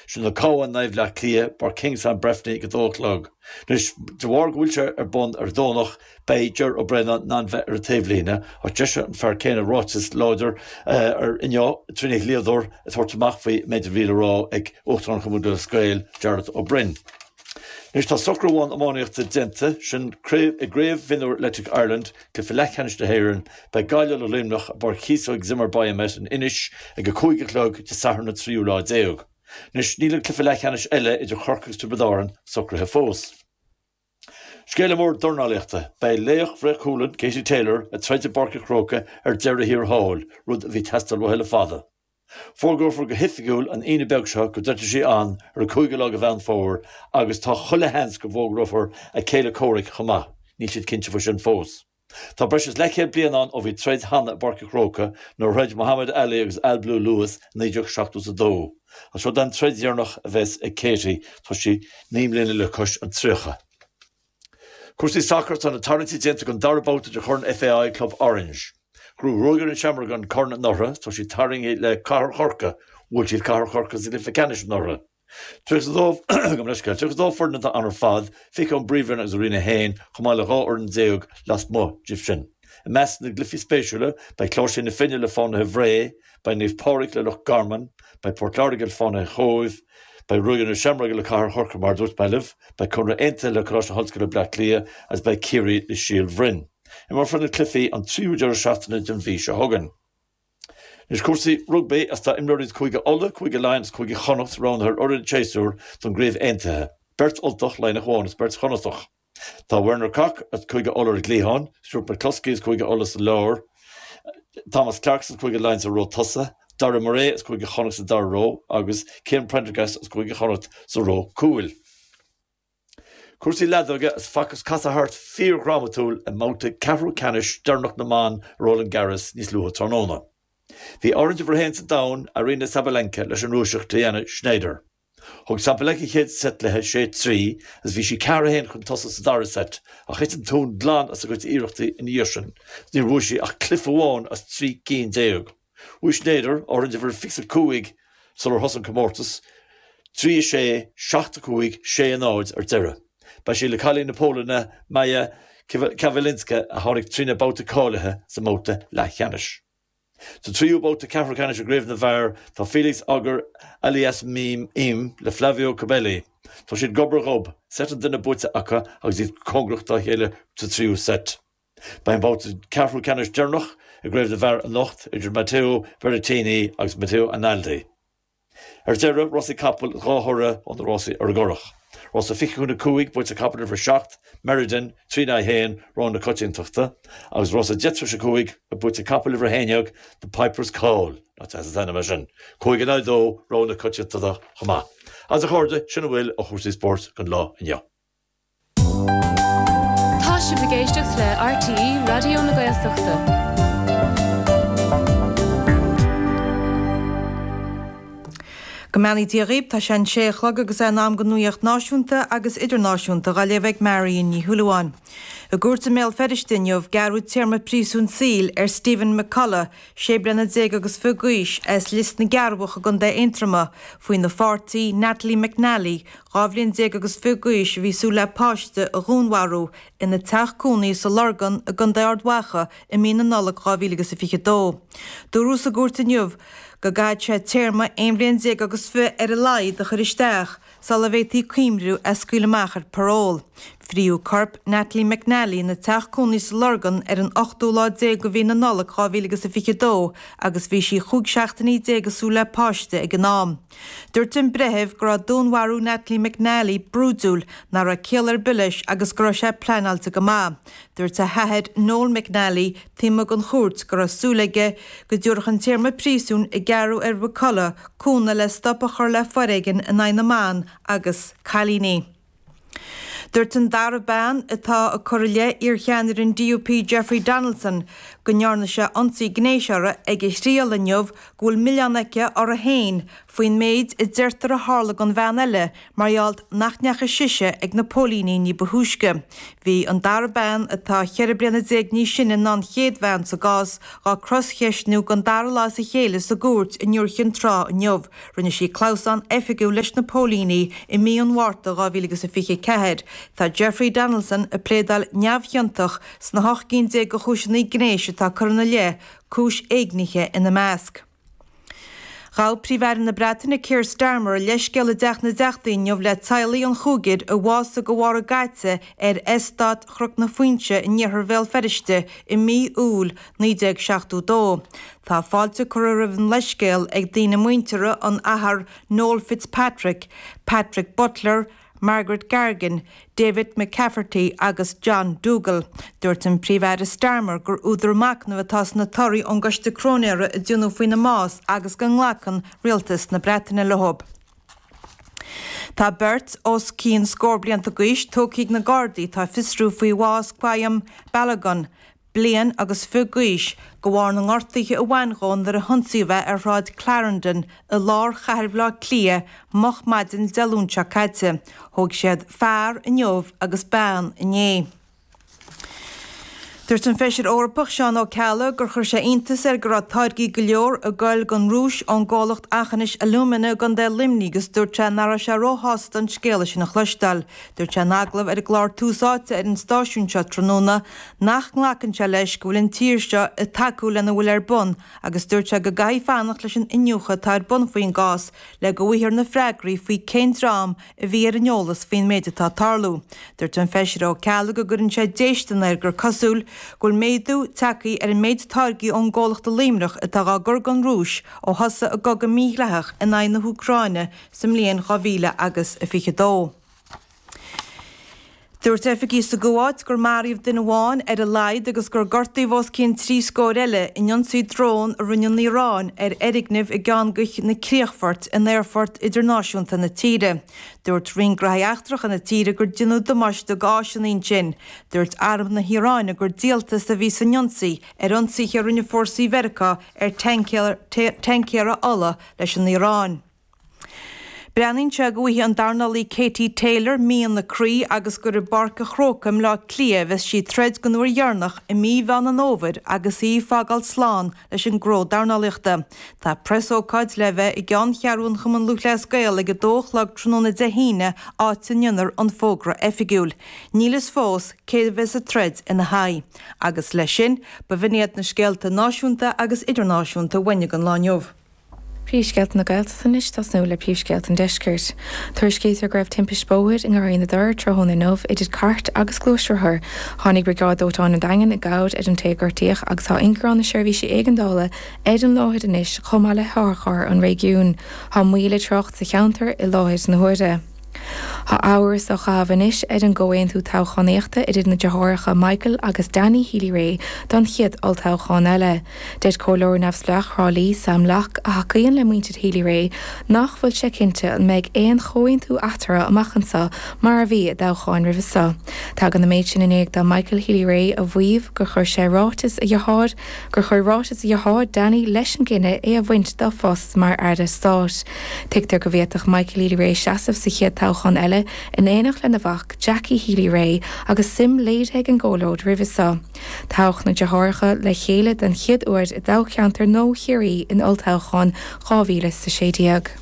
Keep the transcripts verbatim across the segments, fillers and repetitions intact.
Sin an Cabhán in aghaidh Bhleá Cliath, Páirc Kingstown Breffni ag a dó a chlog. Anois, de bharr go bhfuil sé ar bun ar Dhomhnach, beidh Ger Ó Braonáin in ann bheith ar an taobhlíne, ach d'eisigh an fear céanna ráiteas láidir ar inniu trína dhlíodóir ag tabhairt amach faoi méid a bhí le rá ag Uachtarán Chumann Lúthchleas Gael, Jarlath Ó Broin. Anois tá socrú amháin iománaíochta déanta, sin i gCraobh Mhionúir Athletic Ireland, cluiche leathcheannais na hÉireann. Beidh Gaillimh le Luimneach i bPáirc Chíosóg Zimmer Biomet in Inis ag a cúig a chlog Dé Sathairn an tríú lá déag. Anois níl an cluiche leathcheannais eile idir Chorcaigh agus Tiobraid Árann socraithe fós. Scéala mór dornálaíochta, beidh laoch Bhré Chualann, Katie Taylor, ag troid i bPáirc an Chrócaigh ar deireadh thiar thall, rud a bhí ag teastáil uaithi le fada. Fógrófar go hoifigiúil an Aoine beag seo go dtroidfidh sí ann ar an cúigiú lá de Mheán Fómhair agus tá chuile sheans go bhfógrófar a céile comhraic chomh maith. Níl siad cinnte faoi sin fós. Tá breis is leathchéad bliain ann ó bhí troid cheana i bPáirc an Chrócaigh nuair a throid Muhammad Ali agus Al Blue Lewis i naoi déag seachtó is a dó. Ach seo an troid dheireanach a bheas ag Katie, tá sí naoi mbliana le cois an tríocha. Cúrsaí sacair, Tá na tarraingtí déanta don dara babhta de Chorn FAI Club Orange. Ghnóthaigh Ruagairí na Seamróige an corn anuraidh, tá siad tarraingthe le Cathair Chorcaí, bhuail siad Cathair Chorcaí sa gcluiche ceannais anuraidh. Tríocha a dó, gabh mo leithscéal, tríocha a dó foireann atá ann ar fad, fiche ón bPríomhroinn agus ó Roinn a haon, chomh maith le dhá fhoireann déag lasmuigh díobh sin. I measc na gcluichí spéisiúla, beidh Cláirsigh na Finne le Fánaithe Bhré, beidh Naomh Pádraig le Loch Garman, beidh Port Láirge le Fánaithe Chóibh, beidh Ruagairí na Seamróige le Cathair Chorcaí mar a dúirt mé libh, beidh Conradh Aontaithe le Coláiste na hOllscoile Bleá Cliath agus beidh Ciarraí le Síol Bhroin. Imreofar na cluichí an tríú deireadh seachtaine den mhí seo chugainn. Anois cúrsaí rugbaí agus tá imreoirí as Cúige Uladh, Cúige Laighean agus Cúige Chonnacht roghnaithe ar fhoireann an tséasúir don gCraobh Aontaithe, beirt Ultach, Laighneach amháin agus beirt Chonnachtach. Tá Werner Kok as Cúige Uladh ar an gcliathán, Stuart McCloskey as Cúige Uladh sa lár, Thomas Clarkson as Cúige Laighean sa ró tosaigh, Daryl Murray as Cúige Chonnacht sa dara ró agus Cian Prendergast as Cúige Chonnacht sa ró cúil. Cúrsaí leadóige agus facthas casadh thart fíordhrámatúil i mbabhta ceathrú ceannais deireanach na mban i Roland Garros níos luaithe tráthnóna. Bhí áirithe uimhir a haon sa domhan, Aryna Sabalenka, leis an Rúiseach Diana Shnaider. Thug Sabalenka an chéad seit léi, sé trí, agus bhí sí ceathair a haon chun tosaigh sa dara seit, ach thit an tóin glan as a cuid iarrachtaí ina dhiaidh sin agus níor bhuaigh sí ach cluiche amháin as trí cinn déag. Bhuaigh Shnaider, áirithe uimhir fiche a cúig sular thosaigh an comórtas, trí a sé, seacht a cúig, sé a náid ar deireadh. Beidh sí le cailín na Polainne, Maja Chwalińska, a tháinig trína babhta cáilithe sa mbabhta leathcheannais. Sa tríú babhta ceathrú ceannais i gcraobh na bhfear, tá Felix Auger-Aliassime le Flavio Cobolli. Tá siad gob ar ghob, seit an duine buaite acu agus iad cóngarach dá chéile sa tríú seit. Beidh an babhta ceathrú ceannais deireanach i gcraobh na bhfear anocht idir Matteo Berrettini agus Matteo Arnaldi. Ar deireadh, rásaí capall, dhá thoradh ó na rásaí ar an gCurrach. Rása fiche chun a cúig, buaite ag capall uimhir a seacht, Meriden, trí in aghaidh a haon, rogha na coitiantachta, agus rása deich tar éis a cúig, buaite ag capall uimhir a haon déag, The Piper's Call, nach deas an t-ainm é sin, cúig in aghaidh a dó, rogha na coitiantachta chomh maith. Agus a chairde, sin a bhfuil ó chúrsaí spóirt don lá inniu. Tá sibh ag éisteacht le RTÉ Raidió na Gaeltachta. Go mbeannaí Dia dhaoibh, tá sé an sé a chlog agus é in am don nuaíocht náisiúnta agus idirnáisiúnta dhá léamh ag Marion Ní Shúilleabháin. I gcúirt i mBéal Feirste inniu, gearradh téarma príosúin saoil ar Stephen McCullough, sé bliana déag agus fiche d'aois, as Lios na gCearrbhach i gContae Aontroma, faoina pháirtí, Natalie McNally, dhá bhliain déag agus fiche d'aois a bhí ag súil le páiste a dhúnmharú ina teach cónaí sa Lorgan i gContae Ard Mhacha i mí na Nollag dhá mhíle agus a fiche dó. Dúradh sa gcúirt inniu go gcaithfidh sé téarma aon bhliain déag agus fiche ar a laghad a chur isteach sula bhféadfaí cuimhniú é a scaoileadh amach ar paról. Fríodh corp Natalie McNally ina teach cónaí sa Lorgan ar an ochtú lá déag de mhí na Nollag dhá mhíle agus a fiche dó agus bhí sí chúig seachtainí déag ag súil le páiste ag an am. Dúirt an breitheamh go raibh dúnmharú Natalie McNally brúidiúil, nach raibh ciall ar bith leis agus go raibh sé pleanáilte go maith. Dúirt a hathair Noel McNally taobh amuigh den chúirt go raibh súil aige go dtabharfadh an téarma príosúin a gearradh ar McCullough cúnamh le stop a chur le foréigean in aghaidh na mban agus cailíní. Dúirt an dara bean atá ag cur i leith iarcheannaire an DUP Jeffrey Donaldson go ndearna sé ionsaí gnéis uirthi ag a thriail inniu go bhfuil milleán aici uirthi féin faoin méid a deirtear a tharla don bhean eile mar gheall nach ndeachaigh sise ag na póilíní ní ba thúisce. Bhí an dara bean, atá ceithre bliana déag níos sine ná an chéad bhean sa gcás, dhá croscheistniú don dara lá as a chéile sa gcúirt i nDúiche Chinn Trá inniu. Rinne sí clamhsán oifigiúil leis na póilíní i mí an Mhárta dhá mhíle agus a fiche a ceathair. Tá Jeffrey Donaldson ag pléadáil neamhchiontach sna hocht gcinn déag de chúiseanna gnéis atá curtha ina leith, cúis éignithe ina measc. Ghabh Príomh-Aire na Breataine Keir Starmer a leithscéal i dTeach na dTeachtaí inniu le teaghlaigh an chúigir a bhásaigh de bharr a gcaite ar Eastát Chnoc na Foinse in iarthar Bhéal Feirste i mí Iúil naoi déag seachtó dó. Tá fáilte curtha roimh an leithscéal ag daoine muinteartha an Athar Noel Fitzpatrick, Patrick Butler, Margaret Gargan, David McCafferty agus John Dougal. Dúirt an Príomh-Aire Starmer gur údar machnaimh atá sna torthaí ón gcoiste cróinéara a déanadh faoina mbás agus go nglacann Rialtas na Breataine leo. Tá beirt os cionn scór blianta d'aois tógtha ag na Gardaí atá ag fiosrú faoi bhás Quayum Balogun, bliain agus fiche d'aois, de bharr na ngortuithe a bhain dhó nuair a hionsaíodh é ar Shráid Clarendon i lár chathair Bhaile Átha Cliath moch maidin Dé Luain seo caite. Thóg siad fear inniu agus bean inné. Dúirt an Feisire Eorpach Seán Ó Ceallaigh gur chuir sé iontas air go raibh táirgí go leor ag goil don Rúis ón gcomhlacht Aughinish Alumina i gContae Luimnigh agus dúirt sé nach raibh sé róshásta an scéala sin a chloisteáil. Dúirt sé in agallamh ar an gclár Tús Áite ar an stáisiún seo tráthnóna nach nglacann sé leis go bhfuil an tír seo ag tacú lena bhfuil ar bun agus dúirt sé go gcaithfidh fanacht leis an iniúchadh atá ar bun faoin gcás le go bhfaighfear na freagraí faoi cén dream a bhí ar an eolas faoin méid atá ag tarlú. Dúirt an Feisire Ó Ceallaigh go gcuireann sé déistin air gur cosúil go bhfuil méadú tagtha ar an méid táirgí ón gcomhlacht i Luimneach atá á gcur don Rúis ó thosaigh a gcogadh mídhleathach in aghaidh na hÚcráine sa mbliain dhá mhíle agus a fiche dó. Dúirt oifigigh sa gCuáit gur maraíodh duine amháin ar a laghad agus gur gortaíodh os cionn trí scór eile in ionsaí drón a rinne an Iaráin ar fhoirgneamh i gceann de na críochfoirt in aerfort idirnáisiúnta na tíre. Dúirt Roinn Gnóthaí Eachtracha na tíre gur deineadh damáiste d'áiseanna ansin. Dúirt arm na hIaráine gur díoltas a bhí san ionsaí ar ionsaithe a rinne fórsaí Mheiriceá ar tancaeir ola leis an Iaráin. Breathnaíonn sé go bhfaighidh an dornálaí Katie Taylor mian a croí agus gur i bPáirc an Chrócaigh i mBaile Átha Cliath a bheas sí ag troid don uair dheireanach i mí Mheán an Fhómhair agus í ag fágáil slán leis an ngnó dornálaíochta. Tá preasócáid le bheith i gceanncheathrú an Chumann Lúthchleas Gael ag a dó a chlog tráthnóna Dé hAoine áit a ndéanfar an fógra oifigiúil. Níl fhios fós cé a bheas ag troid ina haghaidh. Agus leis sin, b'in iad na scéalta náisiúnta agus idirnáisiúnta a bhain don lá inniu. Príomhscéalta na Gaeltachta anois ag tosnú le príomhscéalta an Deiscirt. Tuairiscítear go raibh timpiste bóthair i nGarraí na dTor tráthnóna inniu idir cairt agus gluaisrothar. Tháinig Briogáid Dóiteáin an Daingin i gcabhair ar an té a gortaíodh agus tá ingearán na seirbhísí éigeandála ar an láthair anois chomh maith le hotharcharr an réigiúin. Tá moill i dtrácht sa cheantar i láthair na huaire. Tá amhras á chaitheamh anois ar an gcomhaontú toghchánaíochta idir na deartháireacha Michael agus Danny Healy-Rae don chéad olltoghchán eile. Deir Comhairleoir Neamhspleách Thrá Lí, Sam Locke, a thacaíonn le muintir Healy-Rae, nach bhfuil sé cinnte an mbeidh aon chomhaontú eatarthu amach anseo mar a bhí i dtoghcháin roimhe seo. Tagann an méid sin i ndiaidh do Michael Healy-Rae a mhaíomh gur chuir sé ráiteas a dhearthár gur chuir ráiteas a dhearthár Danny leis an gcinneadh é a bhaint dá phost mar Aire Stáit. Tuigtear go bhféadfadh Michael Healy-Rae seasamh sa chéad toghchán eile in éineacht lena mhac Jackie Healy-Rae agus suim léirithe ag an gcomhlóid roimhe seo. Toghadh na deartháireacha le chéile den chéad uair i dtoghcheantar Nua Chiarraí in olltoghchán dhá mhíle is a sé déag.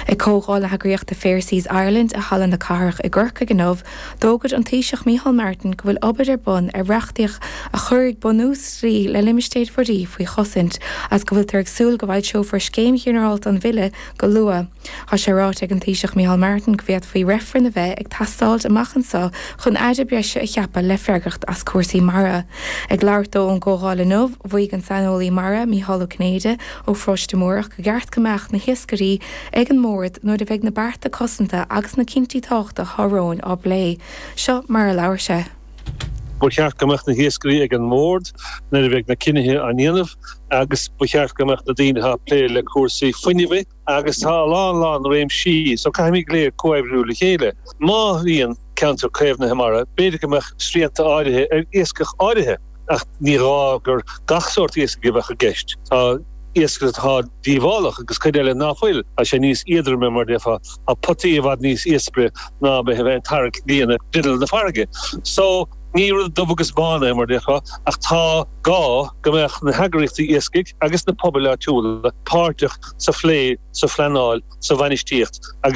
Ag comhdháil na heagraíochta Fair Seas Ireland i Halla na Cathrach i gCorcaigh inniu, d'fhógair an Taoiseach Micheál Martin go bhfuil obair ar bun ar reachtaíocht a chuirfidh bunús dlí le limistéir mhuirí faoi chosaint agus go bhfuiltear ag súil go bhfoilseofar scéim ghinearálta an bhille go luath. Tá sé ráite ag an Taoiseach Micheál Martin go bhféadfaí reifreann a bheith ag teastáilt amach anseo chun aire breise a cheapadh le freagracht as cúrsaí mara. Ag labhairt dó ón gcomhdháil inniu, mhaígh an saineolaí mara Mícheál Ó Cinnéide ó Pharóiste Múrach gur cheart go mbeadh na hiascairí ag an mbord nuair a bheidh na bearta cosanta agus na cinntí tábhachtacha atá romhainn á bplé. Seo mar a labhair sé. Ba cheart go mbeadh na hiascairí ag an mbord nuair a bheidh na cinnithe á ndéanamh agus ba cheart go mbeadh na daoine atá ag plé le cúrsaí fuinnimh agus tá a lán lán réimsí so caithfimid go léir comhoibriú le chéile. Má bhíonn ceantar caomhnaithe mara, b'fhéidir go mbeadh srianta áirithe ar iascach áirithe. Ach ní gá gur gach sórt iascaigh a bheadh i gceist. Tá iasc atá díobhálach agus cuid eile ná fuil. Tá sé níos éadroime mar déarfá. Tá potaí i bhfad níos éasca ná bheith ag tarraingt líne grinneall na farraige. So, ní rud dubh agus bán é mar déarfá, ach tá gá go mbeadh na heagraíochtaí iascaigh agus na pobail áitiúla páirteach sa phlé, sa phleanáil, sa bhainistíocht agus.